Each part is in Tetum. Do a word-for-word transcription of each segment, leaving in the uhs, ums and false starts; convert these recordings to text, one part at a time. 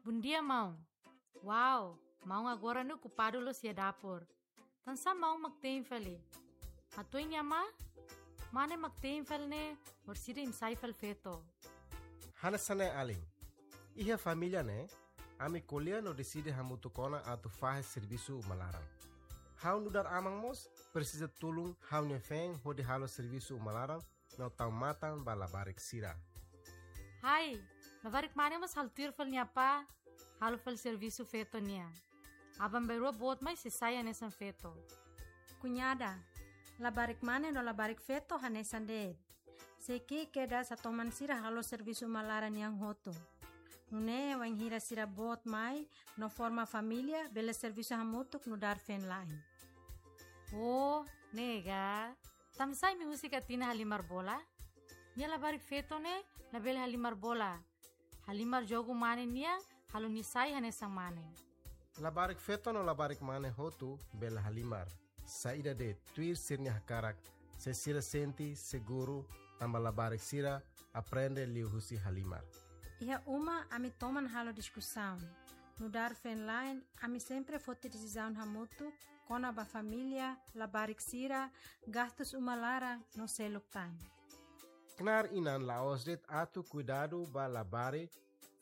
Bondia, maun. Wow, maun agora ne'e okupadu loos iha dapur. Tansá maun mak te'in fali? Hatudu iha ne'ebá, mane mak te'in fali ne'e, orsida imi sai fali feto. Hanesan ne'e alin. Iha família ne'e, ami ko'alia no deside hamutuk ona atu fahe servisu uma laran. Ha'u nu'udar aman mós presiza tulun ha'u-nia feen hodi halo servisu uma laran no tau matan ba labarik sira. Hai, labarik mane mós halo tuir fali nia apá, halo fali servisu feto nian. Aban-bainrua boot mai sei sai hanesan feto. Kuñada, labarik mane no labarik feto hanesan de'it. Sei ki'ik kedas atu toman sira halo servisu uma laran nian hotu. Nune'e wainhira sira boot mai no forma família, bele servisu hamutuk nu'udar feen-la'en. Oh, ne'e ka. Tansá imi husik Atina halimar bola? Nia labarik feto ne'e labele halimar bola. Halimar jogu mane nian, halo nia sai hanesan mane. Labarik feto no labarik mane hotu bele halimar. Saida de'it, tuir sira-nia hakarak, se sira sente seguru, tanba labarik sira aprende liuhusi halimar. Iha uma ami toman halo diskusaun. Nu'udar feen-la'en, ami sempre foti desizaun hamutuk kona-ba família, labarik sira, gastus uma laran no seluk tan. Knaar inan la'ós de'it atu kuidadu ba labarik,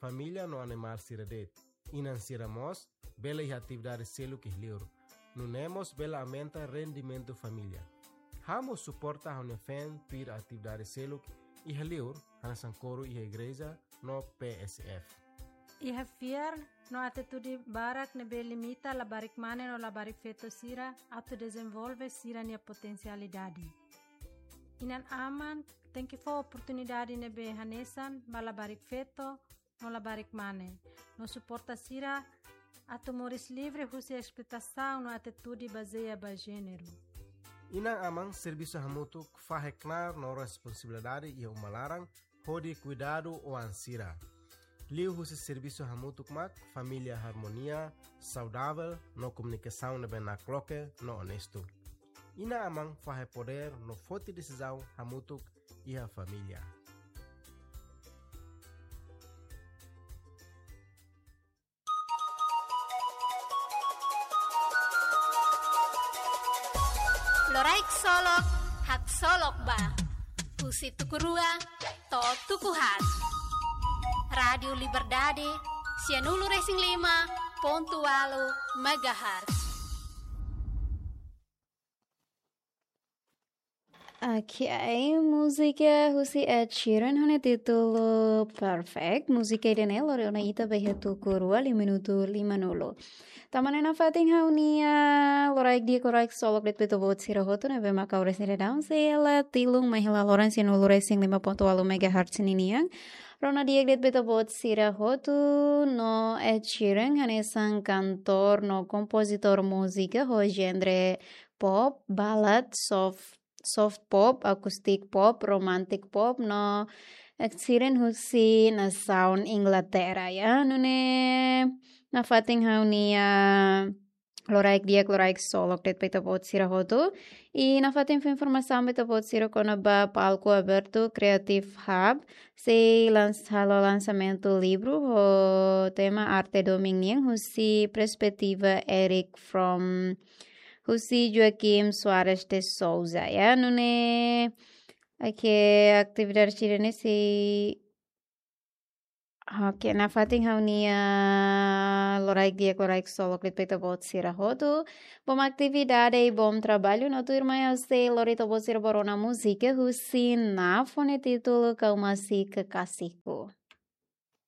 família no animál sira de'it. Inan sira mós bele iha atividade seluk iha liur. Nune'e mós bele aumenta rendimentu família. Ha'u mós suporta ha'u-nia feen tuir atividade seluk iha liur, hanesan koru iha igreja no P S F. Iha fiar no atitude barak ne'ebé limita labarik mane no labarik feto sira atu dezenvolve sira-nia potensialidade. Inan-aman tenke fó oportunidade ne'ebé hanesan ba labarik feto no labarik mane, no suporta sira atu moris livre husi esploitasaun no atitude bazeia ba jéneru. Inan-aman servisu hamutuk fahe knaar no responsabilidade iha uma laran hodi kuidadu oan sira. Liuhusi servisu hamutuk mak família harmonia, saudavel no komunikasaun ne'ebé nakloke no onestu. Inan-aman fahe podér no foti desizaun hamutuk iha família. Loraik Solok, haksolok ba. Husi tuku rua to'o tuku haat. Rádiu Liberdade, sianulu resin lima pontu ualu megahertz. Oke, múzika husi Ed Sheeran ho nia títulu Perfect. Múzika ida-ne'e lori ona ita ba iha tuku rua liu minutu limanulu. Tanba ne'e nafatin ha'u-nia loraik di'ak, loraik solok de'it ba ita-boot sira hotu ne'ebé mak oras ne'e daudaun sei hela tilun mai hela loron sianulu resin lima pontu ualu megahertz ninian. Rona di'ak de'it ba ita-boot sira hotu no Ed Sheeran hanesan kantór no kompozitór múzika ho jéneru pop, ballad, soft, soft pop, acoustic pop, romantic pop, no Ed Sheeran husi nasaun Inglaterra, ya. Nune'e nafatin ha'u-nia loraik di'ak, loraik solok de'it ba ita-boot sira hotu. I nafatin fó informasaun ba ita-boot sira kona-ba palku abertu Creative Hub sei lans-, halo lansamentu livru ho tema Arte Domin nian husi perspetiva Eric Fromm husi Joaquim Soares de Souza, ya. Nune'e, oke, atividade sira-ne'e sei, oke, nafatin ha'u-nia loraik di'ak, loraik solok de'it ba ita-boot sira hotu. Bom atividade i bom trabalho, no tuirmai ha'u sei lori ita-boot sira ba rona múzika husi Naf ho nia títulu Kau Masih Kekasihku.